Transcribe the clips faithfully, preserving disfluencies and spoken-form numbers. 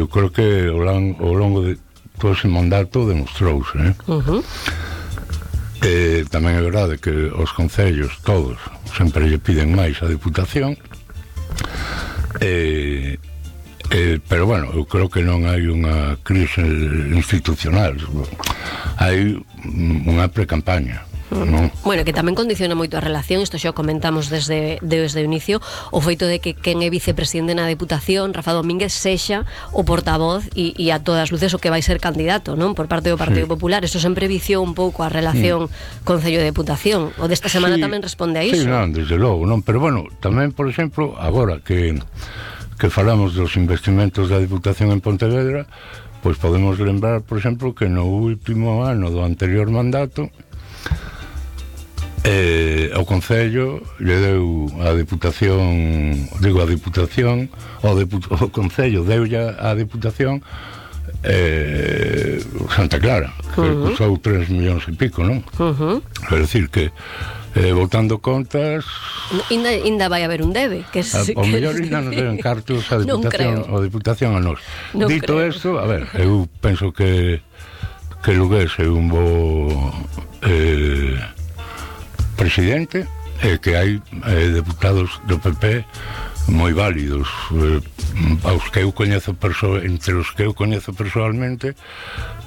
eu creo que ao longo de todo ese mandato demostrouse, eh? Uh-huh. Eh, tamén é verdade que os concellos todos sempre lle piden máis a Deputación, eh, eh, pero bueno, eu creo que non hai unha crise institucional, hai unha precampaña. No. Bueno, que tamén condiciona moito a relación, isto xa o comentamos desde, desde o inicio, o feito de que quen é vicepresidente na Deputación, Rafa Domínguez, sexa o portavoz e, e a todas luces o que vai ser candidato, non? Por parte do Partido sí. Popular. Eso sempre viciou un pouco a relación mm. Concello-Deputación. O desta semana sí, tamén responde a iso. Sí, non, desde logo, non? Pero bueno, tamén, por exemplo, agora que, que falamos dos investimentos da Deputación en Pontevedra, pois podemos lembrar, por exemplo, que no último ano do anterior mandato Eh, o Concello lle deu a Deputación, digo a Deputación, o, Deput- o Concello deulle a Deputación eh, Santa Clara, que uh-huh. custou tres millóns e pico, non? Uh-huh. É dicir que eh, botando contas Inda, inda vai haber un debe que es, a, o que mellor inda nos deben cartos a Deputación, a Deputación a nós. Non Dito isto, a ver, eu penso que que Lugués é un bo eh, presidente, e que hai eh, deputados do P P moi válidos, eh, aos que eu coñezo perso- entre os que eu coñezo personalmente,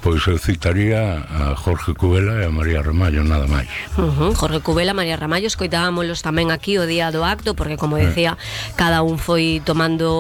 pois eu citaría a Jorge Cubela e a María Ramallo, nada máis. Uh-huh. Jorge Cubela, María Ramallo, escoitábamolos tamén aquí o día do acto, porque como decía, eh. cada un foi tomando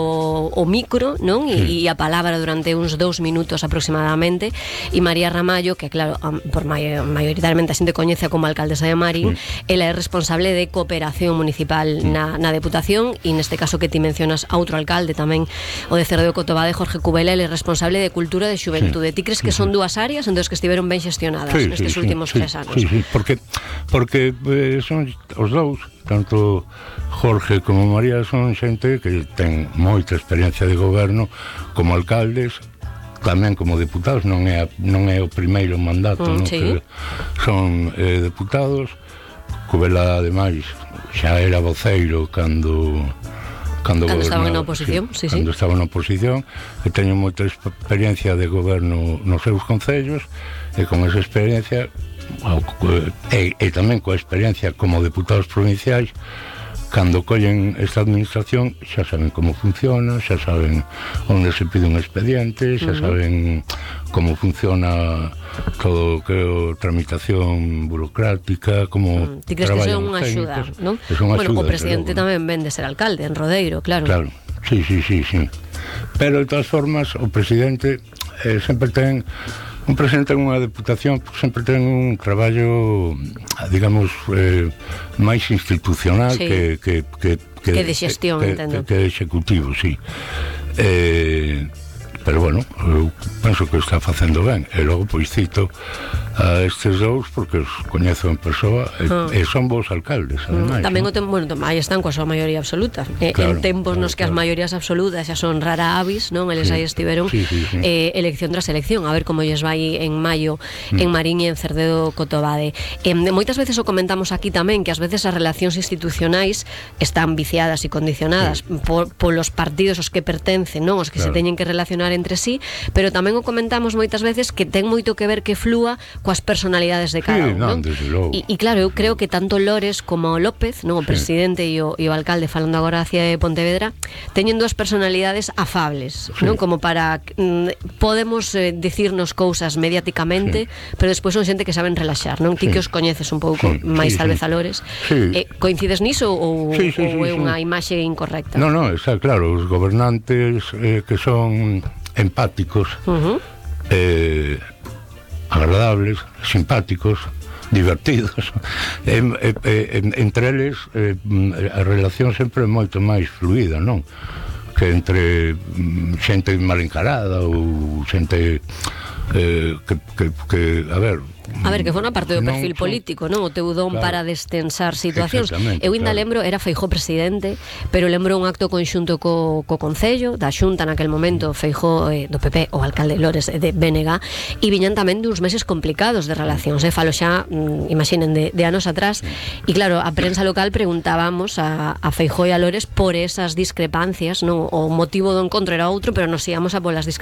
o micro, non? E, sí. e a palabra durante uns dous minutos aproximadamente, e María Ramallo, que claro, por may- maioritariamente a xente coñece como alcaldesa de Marín, sí. ela é responsable de cooperación municipal sí. na, na Deputación, e neste caso que ti mencionas a outro alcalde tamén, o de Cerdo de Cotobade, Jorge Cubela, ele é responsable de Cultura e de Xuventude. Sí. Ti crees que son dúas áreas en dos que estiveron ben xestionadas sí, nestes sí, últimos sí, tres anos? Sí, sí, porque, porque eh, son os dous, tanto Jorge como María, son xente que ten moita experiencia de goberno como alcaldes, tamén como deputados, non é, a, non é o primeiro mandato, mm, non? Sí. Que son eh, deputados. Cubela, ademais, xa era voceiro cando Cando, cando estaban na oposición, sí, sí, cando sí. estaban na oposición, e teño moita experiencia de goberno nos seus concellos, e con esa experiencia e, e tamén coa experiencia como deputados provinciais, cando collen esta administración xa saben como funciona, xa saben onde se pide un expediente, xa uh-huh. saben como funciona todo o que é a tramitación burocrática, como mm. Ti crees que son unha axuda, non? Bueno, o presidente pero, tamén ven de ser alcalde en Rodeiro, claro. Claro, sí, sí, sí, sí. Pero de todas formas o presidente eh, sempre ten un presidente en unha deputación sempre ten un traballo, digamos, eh, máis institucional sí. que, que, que, que, que de xestión, que, entendo. Que, que de executivo, sí. Eh, pero bueno, eu penso que está facendo ben, e logo pois cito a estes dous porque os coñezo en persoa e, ah. e son bons alcaldes, ademais. Tamén ¿no? o tempo, bueno, aí están coa súa maioría absoluta. Claro, en tempos claro, nos que claro. as maiorías absolutas xa son rara avis, non? Eles sí. aí estiveron sí, sí, sí. Eh, elección tras elección, a ver como lles vai en maio mm. en Marín e en Cerdedo Cotobade. Eh, moitas veces o comentamos aquí tamén que ás veces as relacións institucionais están viciadas e condicionadas sí. por, polos partidos aos que pertencen, non? Os que claro. se teñen que relacionar entre sí, pero tamén o comentamos moitas veces que ten moito que ver que flúa coas personalidades de cada sí, un, non? E, e claro, eu creo que tanto Lores como López, non, o sí. presidente e o, e o alcalde, falando agora hacia Pontevedra, teñen dúas personalidades afables, sí. non? Como para mm, podemos eh, dicirnos cousas mediáticamente, sí. pero despois son xente que saben relaxar, non? Ti sí. que os coñeces un pouco sí, máis sí, tal vez sí. a Lores. Sí. Eh, coincides niso ou, sí, sí, ou é sí, unha sí. imaxe incorrecta? Non, non, está claro, os gobernantes eh, que son empáticos, uh-huh. eh, agradables, simpáticos, divertidos, e, e, e, entre eles eh, a relación sempre é moito máis fluida, non? Que entre xente mal encarada ou xente eh, que, que, que, a ver, A ver, que foi unha parte do perfil non, político, non? O teu don claro. para destensar situacións. Eu ainda claro. lembro, era Feijóo presidente, pero lembro un acto conxunto co, co Concello, da Xunta naquel momento, Feijóo eh, do P P, o alcalde Lores de B N G, e viñan tamén duns meses complicados de relacións, eh? Falo xa, mm, imaginen, de, de anos atrás, e claro, a prensa local preguntábamos a, a Feijóo e a Lores por esas discrepancias, non? O motivo do encontro era outro, pero nos íamos a polas discrepancias